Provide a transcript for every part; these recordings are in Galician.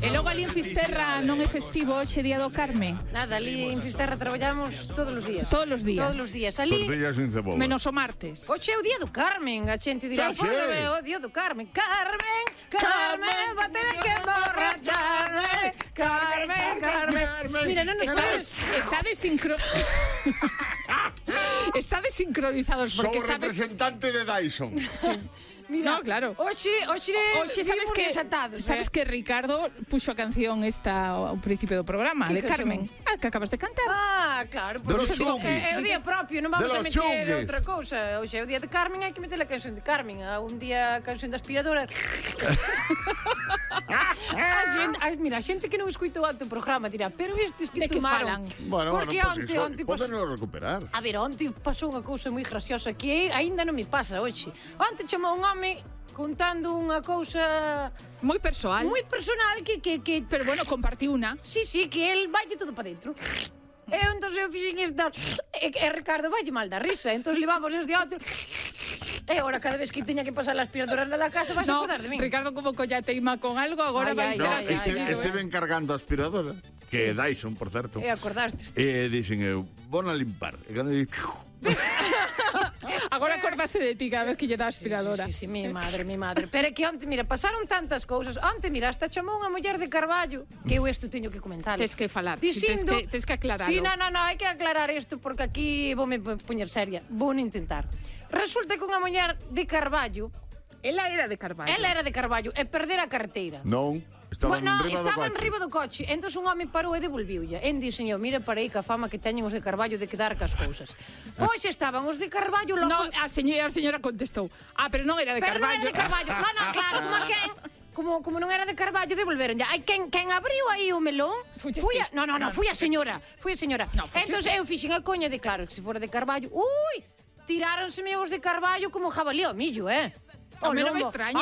E logo ali en Fisterra non é festivo hoxe Día do Carme? Nada, ali en Fisterra traballamos todos os días. Todos os días. Todos os días. Ali, Tortillas sin cebola. Menos o martes. hoxe é o Día do Carmen. A xente dirá, Xa sei. é o Día do Carmen. Carmen, Carmen, va a tener que emborracharme. Carmen, Carmen. Mira, non nos Estades desincronizados Sou porque sabes... representante de Dyson. Mira, No, claro. Hoxe sabes que Ricardo puxo a canción esta ao principio do programa Que de canción? Carmen. Que acabas de cantar. Ah, claro, De los por iso digo, chunguis. é o día propio, non vamos De a los meter chunguis. outra cousa. Hoxe é o día de Carmen, hai que meter a canción de Carmen. Un día a canción da aspiradora. Mira, a xente que non escuitou antes o programa dirá, pero estes que De que tomaron. falan? Bueno, Porque pues onte, iso, onte pasou... podeno recuperar. A ver, onte pasou unha cousa moi graciosa que aínda non me pasa hoxe. Onte chamou un home contando unha cousa Moi persoal. moi personal que Pero bueno, compartí una. sí, que el vaille todo para dentro. E entón eu fixen esta e Ricardo vaille mal da risa. Entón levamos os de outro. E agora cada vez que teña que pasar a aspiradora da casa vais a No, acordar de min. Ricardo como colla teima con algo, agora Ai, vai ai, ser No, ai, así. estive encargando a aspiradora, que é Dyson, por certo. E acordaste. E dixen eu, vou a limpar. E cando di, Agora acordaste de ti cada vez que lle dá a aspiradora. Sí, mi madre. Pero é que onte, mira, pasaron tantas cousas. Onte, mira, hasta chamou unha muller de Carballo, que eu isto teño que comentar. Tes que falar, Dicindo... tes que aclararlo. Sí, no, hai que aclarar isto porque aquí voume poñer seria. Vou intentar. Resulta que unha muller de Carballo, Ela era de Carballo. ela era de Carballo, e perder a carteira. non, estaba Bueno, enriba do estaba coche. enriba do coche. Entón un home parou e devolviulla. En dixen eu, mira para aí que a fama que teñen os de Carballo de quedar cas cousas. Pois estaban os de Carballo No, locos... a señora contestou. Pero non era de Pero non Carballo. era de Carballo. No, claro, como a quen... Como non era de Carballo, devolveron ya. Ai, quen abriu aí o melón Fuches fui ti. a... No, fui a señora. No, fuches Entón eu fixen a coña de, claro, que se fora de Carballo... Ui, tiráronseme os de Carballo como jabalí ao millo, A mí non me lombo. extraña.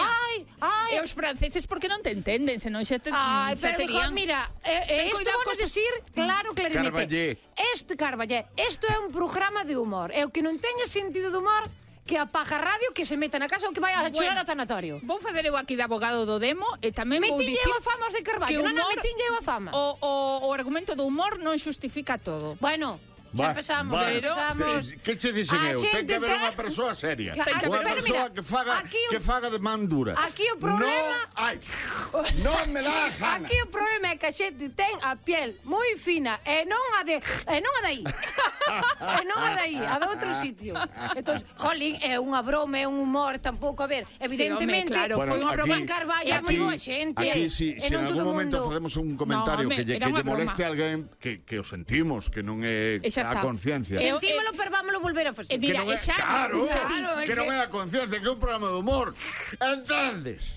Ai. E os franceses porque non te entenden, senón xa te Ai, xa pero terían... mira, Ten isto cuidado vou cos- decir claro, clarinete. Carballé. Isto é un programa de humor. E o que non teña sentido de humor que apaga radio, que se meta na casa ou que vai a chorar ao tanatorio. Vou facer eu aquí de abogado do demo e tamén vou Metinlle dicir eu a fama aos de que Carballo. o Non, humor- metinlle eu a fama. o argumento do humor non xustifica todo. Bueno, xa empezamos. Que che dixen A eu? Ten xente que haber ten- unha persoa seria. Claro, Unha pero persoa mira, que faga de man dura. aquí o problema- Non me dá a gana. Aquí o problema é que a xente ten a piel moi fina e non a de e non a dai. E non a dai, a de outro sitio. Entón, jolín, é unha broma, é un humor, tampouco, a ver, evidentemente, claro, foi unha broma en aquí- Carballo, é moi boa xente. Aquí, si e en non todo algún o momento mundo... facemos un comentario No, home, que era unha lle moleste broma. a alguén, que o sentimos, que non é E xa a está. conciencia. Sentímolo, pero vámoslo volver a facer. Mira, que non é, xa- claro, xa- que non é a conciencia, que é un programa de humor. Entendes?